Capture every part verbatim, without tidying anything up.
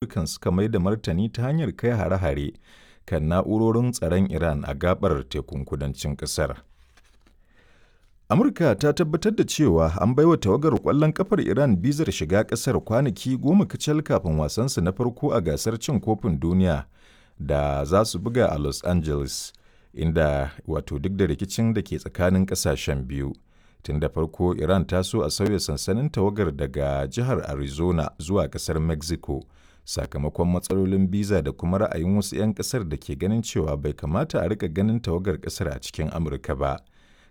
Amurkan suka mai da martani ta hanyar kai hare-hare kan na'urorin tsaron Iran a gaɓar tekun kudancin ƙasar. Amurka ta tabbatar da cewa an baiwa tawagar ƙwallon ƙafar Iran bizar shiga ƙasar kwanaki goma kacal kafin wasansu na farko a gasar Cin Kofin Duniya da za su buga a Los Angeles, inda wato duk da rikicin da ke tsakanin ƙasashen biyu. Tun da farko Iran ta so a sauya sansanin tawagar daga jihar Arizona zuwa ƙasar Mexico sakamakon matsalolin biza da kuma ra'ayin wasu 'yan ƙasar da ke ganin cewa bai kamata a riƙa ganin tawagar ƙasar a cikin Amurka ba.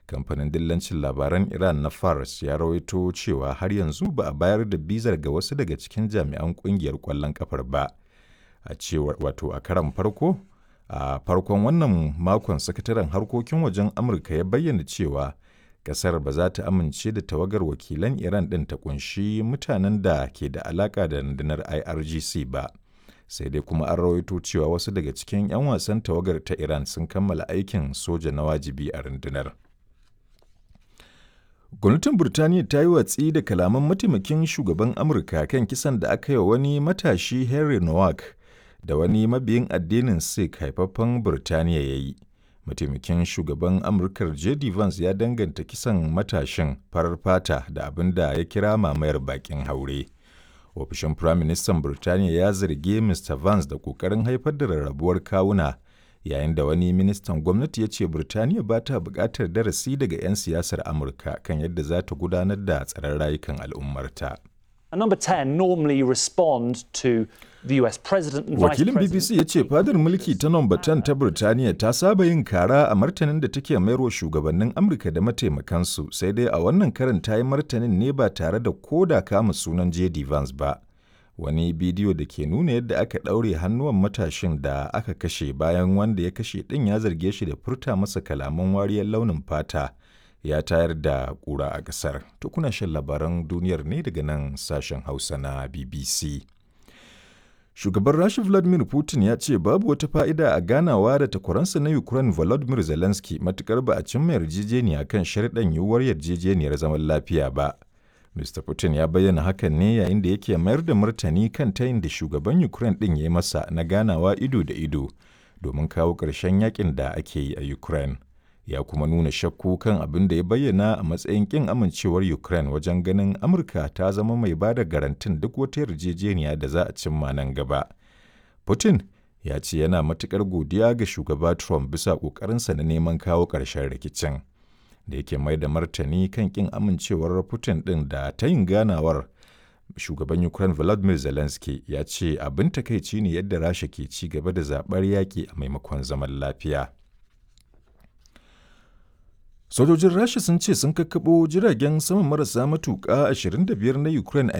Kamfanin dillancin labaran Iran na Fars ya rawaito cewa har yanzu ba a bayar da bizar ga wasu daga cikin jami'an kungiyar ƙwallon ƙafar ba. A cewar wato a karon farko, a farkon wannan makon sakataren harkokin wajen Amurka ya bayyana cewa kasar ba za ta amince da tawagar wakilan Iran ɗin ta kunshi mutanen da ke da alaƙa da rundunar I R G C ba. Sai dai kuma an rawaito cewa wasu daga cikin 'yan wasan tawagar ta Iran sun kammala aikin soja na wajibi a rundunar. Gwamnatin Burtaniya ta yi watsi da kalaman mataimakin shugaban Amurka kan kisan da aka yi wa wani matashi Henry Nowak da wani mabiyin addinin Sikh haifaffen Burtaniya ya yi. Mataimakin shugaban Amurkar J D Vance ya danganta kisan matashin farar fata da abin da ya kira mamayar bakin haure. Ofishin Firaministan Burtaniya ya zargi Mister Vance da ƙoƙarin haifar da rarrabuwar kawuna, yayin da wani ministan gwamnati ya ce Birtaniya ba ta buƙatar darasi daga 'yan siyasar Amurka kan yadda za ta gudanar da tsaron rayukan al'ummarta. And number ten normally respond to the U S president and vice Wakilin B B C ya ce fadar mulki ta Number ten ta Birtaniya ta saba yin kara a martanin da take mayarwa shugabannin Amurka da mataimakansu, sai dai a wannan karin ta yi martanin ne ba tare da koda kama sunan J D Vance ba. Wani bidiyo da ke nuna yadda aka ɗaure hannuwan matashin da aka kashe bayan wanda ya kashe ɗin ya zarge shi da furta masa kalaman wariyar launin fata ya tayar da ƙura a ƙasar. To, kuna shan labaran duniyar ne daga nan sashen Hausa na B B C. Shugaban Rasha Vladimir Putin ya ce babu wata fa'ida a ganawa da takwaransa na Ukraine Volodymyr Zelensky matukar ba a cimma yarjejeniya kan sharɗan yiwuwar yarjejeniyar zaman lafiya ba. Mister Putin ya bayyana hakan ne yayin da yake mayar da martani kan tayin da shugaban Ukraine ɗin ya yi masa na ganawa ido da ido domin kawo ƙarshen yakin da ake yi a Ukraine. Ya kuma nuna shakku kan abin da ya bayyana a matsayin ƙin amincewar Ukraine wajen ganin Amurka ta zama mai ba da garantin duk wata yarjejeniya da za a cimma nan gaba. Putin ya ce yana matuƙar godiya ga shugaba Trump bisa ƙoƙarinsa na neman kawo ƙarshen rikicin. Da yake mai da martani kan kin amincewar Putin ɗin da ta yin ganawar, shugaban Ukraine Volodymyr Zelensky ya ce abin takaici ne yadda Rasha ke ci gaba da zaɓar yaƙi a maimakon zaman lafiya. Sojojin Rasha sun ce sun kakkaɓo jiragen sama marasa matuƙa ashirin da biyar na Ukraine a